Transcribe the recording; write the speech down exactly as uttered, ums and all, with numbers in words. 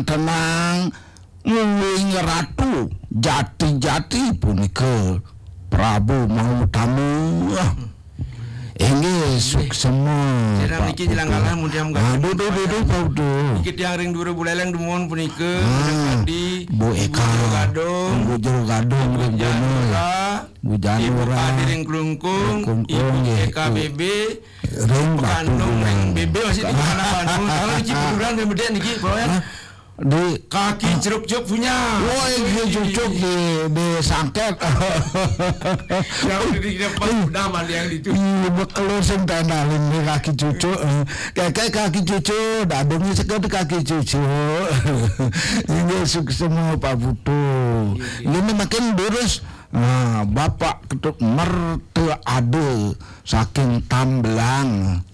Tenang, nguing ratu jati-jati punika Prabu Mahutama. Inggih, suksema, Pak Putu. Niki jelang kalah, mudah-mudahan. Aduh, duh, duh, duh, Pak Putu. Niki tiang ring Dura Buleleng dumun punika, ah, Adi, Bu Eka, Jero Gadung, Bu Jero Gadung, Bu Janura, Bu Janura, Ibu Kadi ring Klungkung, Klungkung, Ibu nggih, Eka, Bu B B, ring Batu Kandung ring Buleleng. B B masih di mana Bandung. Kalau niki betulan, nggih, bedek niki, Pak, ya. Hah? Di kaki ceruk-ceruk punya. Woi, dia cucuk di, di sangket. Yang di, di depan udah mandi yang di cucuk. Iya, bekel sing tandalin di kaki cucuk. Kayak kaki cucuk, dadungnya sekat kaki cucuk. Ini suksema Pak Putu. Iya, iya. Ini makin durus. Nah, Bapak Ketut Merta ada saking Tambelang.